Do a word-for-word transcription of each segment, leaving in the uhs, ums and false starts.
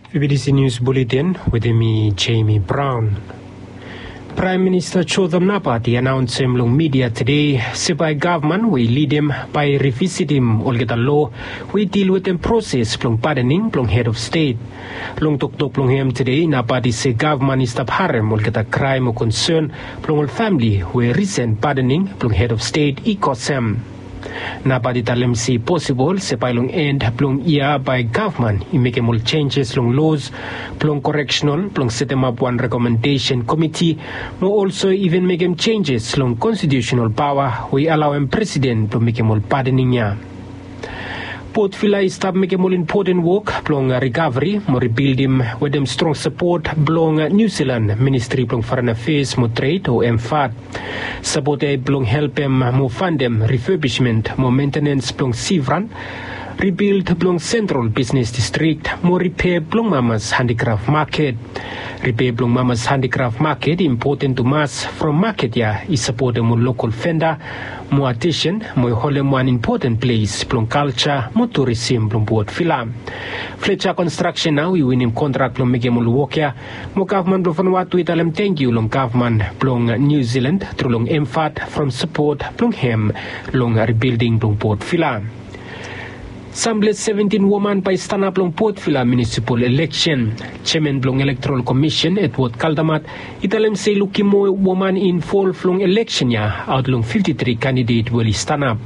Fibidisi Nius Buletin wetem mi, Jemi Braon. Praem Minista Jotham Napat i anaonsem long midia tede se bae gavman we i lidim bae i rivisitim olgeta loa we i dil wetem proses blong padening blong hed of stet. Long toktok blong hem tede, Napat i se gavman i stap harem olgeta kraem o konsen blong ol famle we risen padening blong hed of stet i kosem. Napat i talem se i posibol se bae long en blong yia bae gavman i mekem ol senjes long loas blong koreksenal blong setemap wan rekomendesen komiti, mo olso iven mekem senjes long konstitiusenal paoa we i alaoem presiden blong mekem ol padening ya. Port Vila i stap mekem ol impoten wok blong rikaveri mo ribildim wetem strong sapot blong Niu Silan Ministri blong Foren Afeas mo Tred o MFAT. Sapot ya i blong helpem mo fandem rifebismen mo mentenens blong Sivran, ribild blong sentral bisnes distrik mo ripea blong mamas handikraf maket. Ripea blong mamas handikraf maket i impoten tumas from maket ya i sapotem ol lokal venda mo atesen mo i holem wan impoten ples blong kalja mo turisim blong Port Vila. Fletcher Construction nao i winim kontrak blong mekem ol wok ya, mo gavman blong Vanuatu i talem tangkiu long gavman blong Niu Silan tru long MFAT from sapot blong hem long ribilding blong Port Vila. Samples seventin woman bae i stanap long Port Vila munisipal eleksen. Jeaman blong Elektoral Komisen, Edward Kaldamat, i talem se i lukim moa woman i involv long eleksen ya aot long fifti tri kandidet we oli stanap.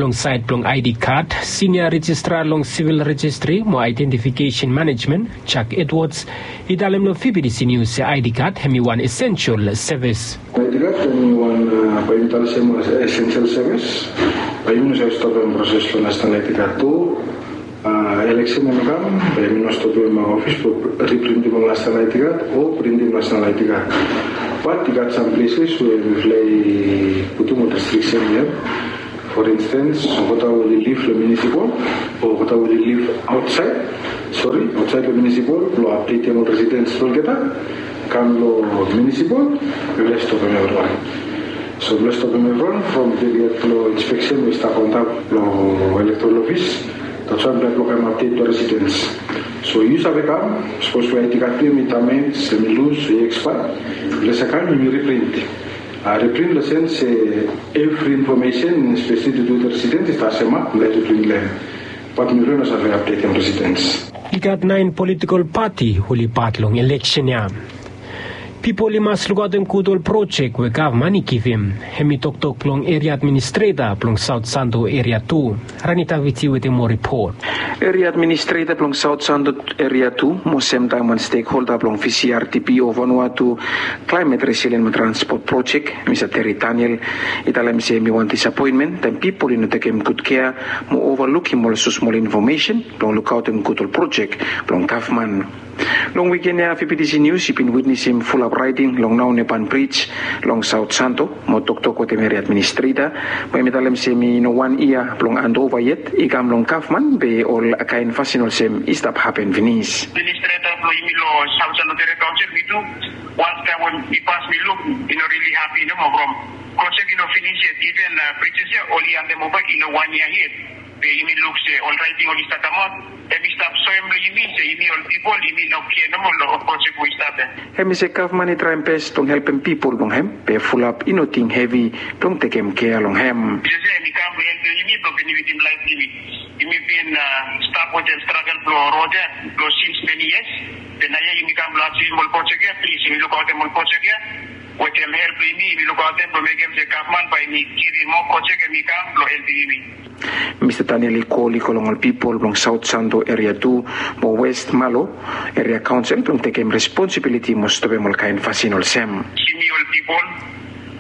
Long saed blong ID kad, sinia rejistra long sivil rejistri mo aedentifikesen manejmen, Jack Edwards, i talem long Fibidisi Nius se ID kad hem i wan esensel sevis. ID kad hem i wan, a, bae yumi talem se wan esensel sevis. Bae yumi no save stopem proses blong Nasenal ID kad tu. A, eleksen hem i kam, bae yumi no stopem ofis blong riprintim ol Nasenal ID kad o printim Nasenal ID kad. Bat i gat sam plesas we mifala i putum ol restriksen ya. For instance, olgeta we oli liv long munisipal o olgeta we oli liv aotsaed, sori, aotsaed long munisipal, blong apdetem ol residens blong olgeta, kam long munisipal, mifala stopem evriwan. So mifala stopem evriwan from period blong inspeksen we i stap antap long elektoral ofis. That's why mifala blokem apdet blong residens. So yu save kam, sapos we ID kad blong yu hem i dames, hem i lus, hem i ekspaea, mifala save kam, yumi riprint. A, riprint long sens se evri infomesen, espeseli tu tu residens, i stap semap, mifala riprint long hem. Bat mifala no save apdetem residens. I gat naen politikol pati we oli pat long eleksen ya. Pipol i mas lukaotem gud ol projek we gavman i givim. Hem i toktok blong eria administreta blong Saot Santo Eria Tu. Rani Taviti wetem moa ripot. Eria administreta blong Saot Santo Eria Tu mo semtaem wan stekholda blong VCRTP o Vanuatu Climate Resilient mo Transport Project, Mista Terry Daniel, i talem se hem i wan disapoenmen taem pipol i no tekem gud kea mo ovalukim ol smosmol infomesen blong lukaotem gud ol projek blong gavman. Long wiken ya, Fibidisi Nius i bin witnesem fulap raeding long Naonepan Brij long Saot Santo, mo toktok wetem eria administreta, mo hem i talem se hem i no wan yia blong andova yet i kam long gavman be ol kaen fasin olsem i stap hapen finis. Administreta blong yumi long Saot Santo Eria Kaonsel, mi tu, wantaem we mi pas mi luk, i no rili hapi nomo from projek i no finis yet, iven, a, brij ya oli andem ova i no wan yia yet. Be yumi luk se ol raeting oli stap kamaot, hem i stap soem long yumi se yumi ol pipol, yumi no kea nomo long ol projek we i stap ya. Hem i se gavman i traem bes blong helpem pipol blong hem, be fulap i no ting hevi blong tekem kea long hem. Jisas ya hem i kam blong helpem yumi blong benefitim laef blong yumi. Yumi bin, a, stap wetem stragel blong rod ya blong sins meni yias. Be naoia yumi kam blong asevem ol projek ya, plis yumi lukaotem ol projek ya. Wetem help blong yumi, yumi lukaotem blong mekem se gavman bae hem i givim moa projek hem i kam blong helpem yumi. Mista Daniel i kol i go long ol pipol blong Saot Santo Eria Tu mo West Malo Eria Kaonsel blong tekem responsibiliti mo stopem ol kaen fasin olsem. Yumi ol pipol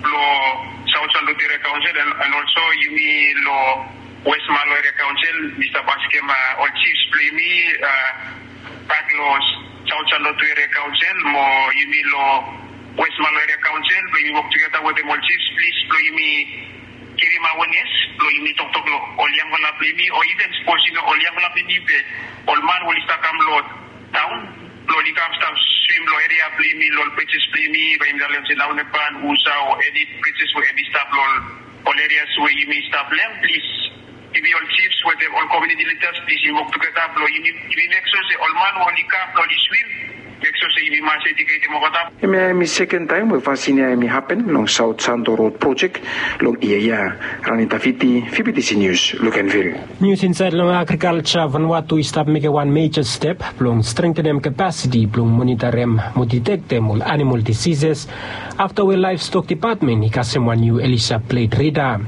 blong Saot Santo Eria Kaonsel, an, an olso yumi long West Malo Eria Kaonsel, mi stap askem, a, ol jifs blong yumi, a, bak long Saot Santo Eria Kaonsel mo yumi long West Malo Eria Kaonsel blong yumi wok tugeta wetem ol jifs, plis blong yumi givim awenes blong yumi toktok long ol yangfala blong yumi, o iven sapos i no ol yangfala blong yumi be ol man we oli stap kam long taon blong oli kam stap swim long eria blong yumi, long ol brijis blong yumi, bae yumi talem se Naonepan, Usa o eni brijis we hem i stap long ol, ol erias we yumi stap long hem, plis Yumi ol chiefs wetem ol community leaders plis yumi wok tugeta blong yumi mek sua se ol man we oli kam blong oli swim, mek sua se yumi mas educatem olgeta. Hemia hemi seken taem we fasin ya hemi hapen long South Santo Road project long yia ya. Rani Tafiti, Fibitisi Nius, Lukenvil. Nius insaed long agrikalja, Vanuatu i stap mekem wan meja step blong strengtenem kapasiti blong monitarim mo detektem ol animal disises afta we Laevstok Dipatmen i kasem wan niu Elisa Blade rida.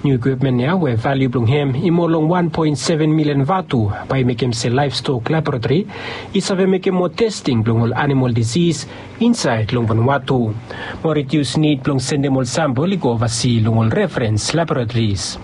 Niu ikwipmen ya we valiu blong hem i moa long wan poen seven milian vatu bae i mekem se laevstok laboratori i save mekem moa testing blong ol animal disis insaed long Vanuatu mo redius nid blong sendem ol sampel i go ovasi long ol referens laboratoris.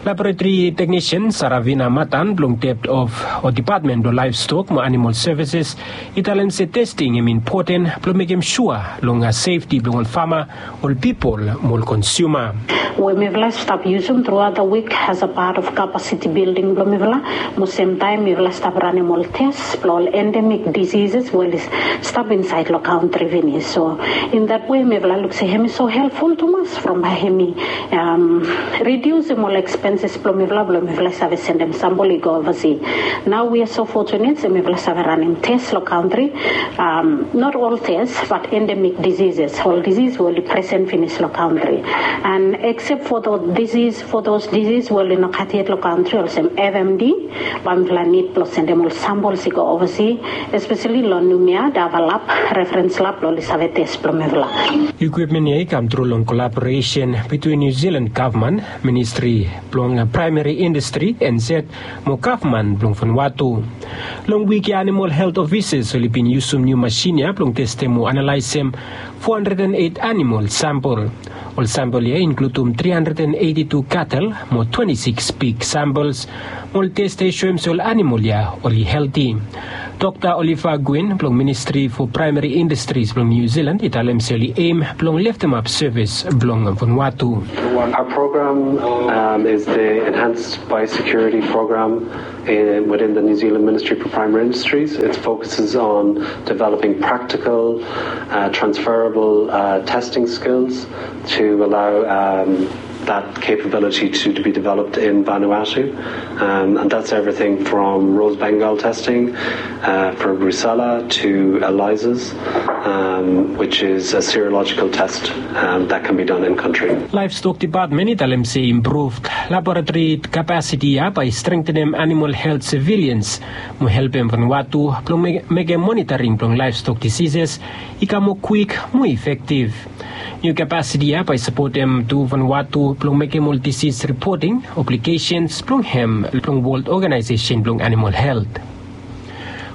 Laboratori teknisian Saravina Matan blong Depot of o Dipatmen blong Laevstok mo Animal Sevises i talem se testing hem impoten blong mekem sua long sefti blong ol fama, ol pipol mo ol konsuma. We mifala i stap yusum truaot da wik as a pat of kapasiti bilding blong mifala, mo semtaem mifala i stap ranem ol tes blong ol endemik disises we oli stap insaed long kantri finis. So in dat we mifala luk se hem i so helpful tumas from bae hem i rediusim ol ekspenses blong mifala blong mifala i save sendem sampel i go ovasi. Nao wi a so fotunet se mifala i save ranem tes long kantri. Not ol tes bat endemik disises, ol disis we oli presen finis long kantri. And eksep fo those disis fo those disis we oli no gat yet long kantri olsem F M D, bae mifala nid blong sendem ol sampels i go ovasi, espeseli long Numia, Davalap, referens lab blong oli save tes blong mifala. Ikwipmen ya i kam tru long kolaboresen bitwin Niu Silan gavman, ministri blong praemari indastri, N Z, mo gavman blong Vanuatu. Long wik ya animal helt ofises oli bin yusum niu masin ya blong testem mo analaesem fo handred en eit animal sampel. Ol sampel ya i inkludum tri handred en eiti tu katel mo twenti sikis pig sampels, mo ol tes ya i soem se ol animal ya oli helti. Dokta Oliver Gwynn blong Ministri fo Praemari Indastris blong Niu Silan i talem se oli eim blong leftemap sevis blong Vanuatu. Our program um, is the Enhanced Biosecurity Program in, within the New Zealand Ministry for Primary Industries. It focuses on developing practical, uh, transferable uh, testing skills to allow um, that capability to, to be developed in Vanuatu. Um, and that's everything from rose Bengal testing uh, for Brucella to ELISAs, um, which is a serological test um, that can be done in country. Laevstok Dipatmen i talem se improved laboratori kapasiti ya bae i strengtenem animal helt sevilians mo helpem Vanuatu blong mekem monitaring blong laevstok disises i kam moa kwik mo efektiv. Niu kapasiti ya bae i sapotem tu Vanuatu blong mekem ol disis ripoting aplikesens blong hem long Wol Oganaesesen blong Animal Helt.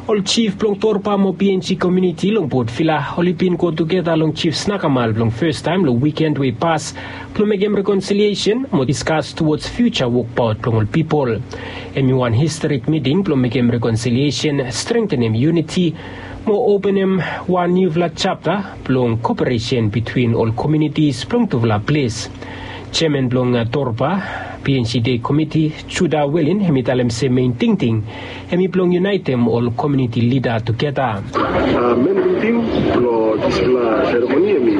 Ol jif blong Torba mo B N G komuniti long Port Vila oli bin go tugeta long Jif Snakamal blong fastaem long wiken we i pas blong mekem rekonsiliesen mo diskas tuwods fiuja wokbaot blong ol pipol. Hem i wan historik miting blong mekem rekonsiliesen, strengtenem yuniti mo openem wan niufala japta blong koperesen bitwin ol komunitis blong tufala ples. Jeaman blong Torba B N G Dei Komiti, Juda Welin, hem i talem se mein tingting hem i blong yunaetem ol komuniti lida tugeta. Men tingting blong dispela seremoni hem i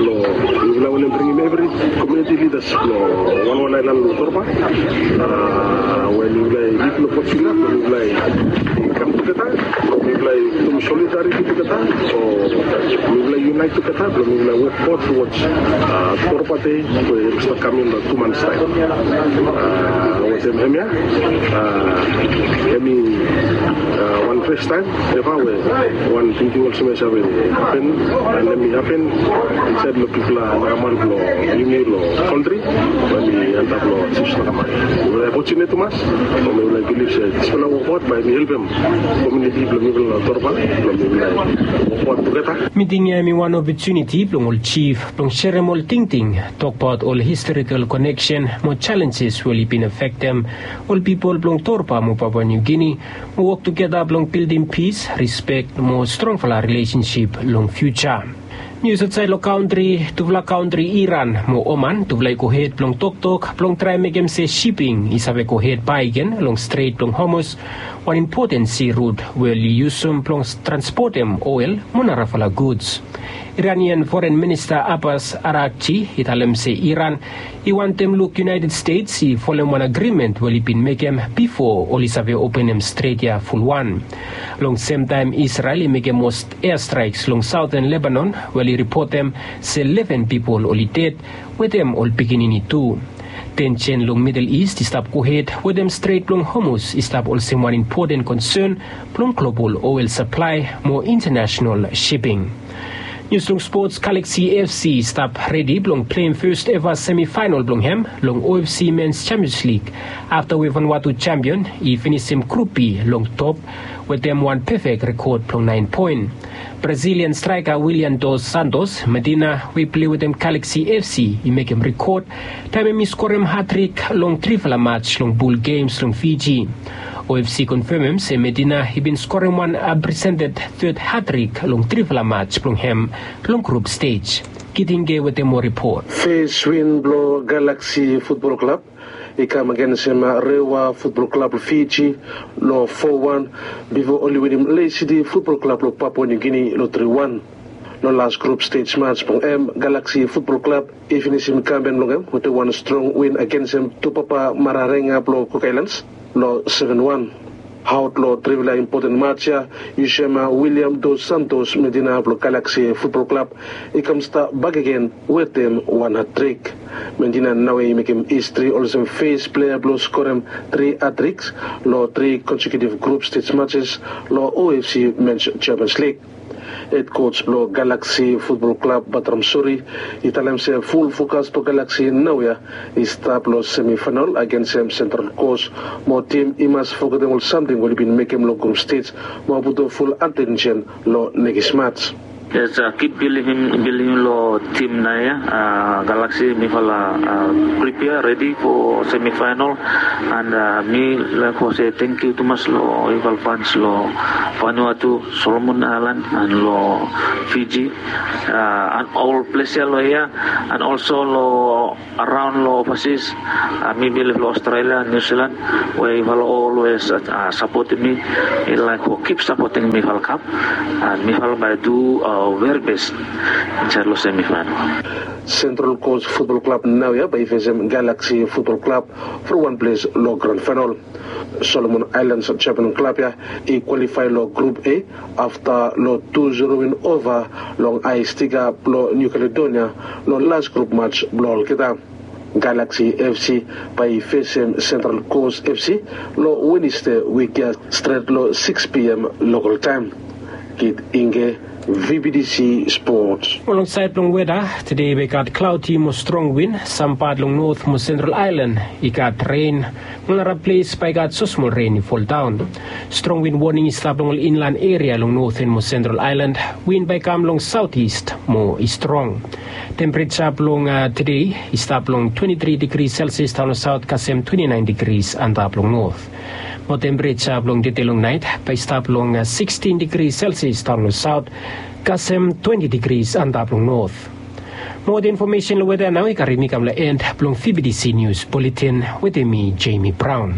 blong mifala wantem bringim evri komuniti lidas blong wanwan aelan long Torba, we mifala i lid long Port Vila blong mifala i kam tugeta, blong mifala i mekem solidariti tugeta, o mifala i yunaet tugeta blong mifala i wokbaot towards Torba Dei we i stap kam long tu mans taem. Wetem hemia, hem i wan fastaem eva we wan tingting olsem ya i save hapen, and hem i hapen insaed long pipol Snakamal blong yumi long kantri, we hem i antap long Jif Snakamal. Mifala i fortunate tumas, mo mifala i bilif se dispela wokbaot bae hem i helpem komuniti blong mifala long Torba blong mifala i wokbaot tugeta. Miting ya hem i wan opotuniti blong ol jif blong serem ol tingting, tokbaot ol historikal koneksen mo jalenjes we oli bin afektem ol pipol blong Torba mo Papua Niu Gini, mo wok tugeta blong bildim pis, rispek mo strongfala rilesensip long fiuja. Nius aotsaed long kantri, tufala kantri Iran mo Oman, tufala i gohed blong toktok blong traem mekem se siping i save gohed bakegen long Stret blong Hormuz, Wan impoten si rut we oli yusum blong transpotem oel mo narafala guds. Iranian Foren Minista Abbas Arakji i talem se Iran i wantem luk United States i folem wan agrimen we oli bin mekem bifo oli save openem stret ya fulwan. Long semtaem Israel i mekem mos eastraiks long saoten Lebanon we oli ripotem se leven pipol oli ded wetem ol pikinini tu. Tensen long Middle East i stap gohed wetem Stret blong Hormuz i stap olsem wan impoten konsen blong global oel saplae mo intanasenal siping. Nius long spots, Galaxy F C i stap redi blong pleim fes eva semifaenal blong hem long O F C Mens Champions League afta we Vanuatu champion i finisim Grup B long top wetem wan pefek rekod blong naen poen. Brazilian straeka William Dos Santos Medina we i plei wetem Galaxy F C i mekem rekod taem hem i skorem hatrik long trifala mats long bul gems long Fiji. O F C konfemem se Medina i bin skorem wan apresented third hatrik long trifala mats blong hem long grup stej. Kitinge wetem moa ripot. Fes win blong Galaxy Futbol Klab i kam agensem Rewa Futbol Klab long Fiji long fo wan bifo oli winim Lae City Futbol Klab long Papua Niu Gini long tri wan. Long las grup stej mats blong hem, Galaxy Futbol Klab i finisim kampen blong hem wetem wan strong win agensem Tupapa Mararenga blong Cook Islands long seven wan. Aot long trifala impoten mats ya, yusum William Dos Santos Medina blong Galaxy Futbol Klab i kam stap bakegen wetem wan hatrik. Medina naoia i mekem histri olsem fes plea blong skorem tri hatriks long tri konsekiutiv grup stej matses long O F C Mens Champions League. Hed koj blong Galaxy Futbol Klab, Batram Suri, i talem se ful fokas blong Galaxy naoia i stap long semifaenal agensem Sentral Kos, mo tim i mas fogetem ol samting we oli bin mekem long grup stej mo putum ful atensen long nekis mats. Yes, uh, kip bilivim, bilivim long tim naoia, uh, Galaxy, mifala, uh, pripea redi fo semifaenal, and, uh, mi laek fo se tangkiu tumas long yufala fans long Vanuatu, Solomon Aelan, and long Fiji, uh, and ol ples ya long hia, and olso long araon long ovasis, uh, mi bilif long Australia, New Zealand, we yufala olwes, uh, sapotem mi. Mi laek fo kip sapotem mifala kap, and mifala bae du, uh, veri bes insaed long semifaenal. Sentral Kos Futbol Klab naoia bae i fesem Galaxy Futbol Klab from wan ples long gran faenal. Solomon Aelan Japan klab ya i kwalifae long Grup A afta long tu zero win ova long Aestika blong Niu Kaledonia long las grup mats blong olgeta. Galaxy F C bae i fesem Sentral Kos F C long Wenesde wik ya stret long sikis P M lokal taem. Kit Inge, V B D C Sports. Mo long saed blong weda, tede bae i gat klaodi mo strong win, sam pat long Not mo Sentral Aelan i gat ren, mo naraples bae i gat sosmol ren i foldaon. Strong win woning i stap long ol inlan eria long Noten mo Sentral Aelan, win bae i kam long saotis mo i strong. Tempereja blong, uh, tede i stap long twenti tri digri Celsius daon long saot kasem twenti naen digris antap long Not. Mo tempereja blong tede long naet bae i stap long, uh, sikstin digri Celsius daon long saot kasem twenti digris antap long Not. Mo ol infomesen long weda nao i karim mi kam long en blong V B D C Nius Buletin wetem mi, Jamie Brown.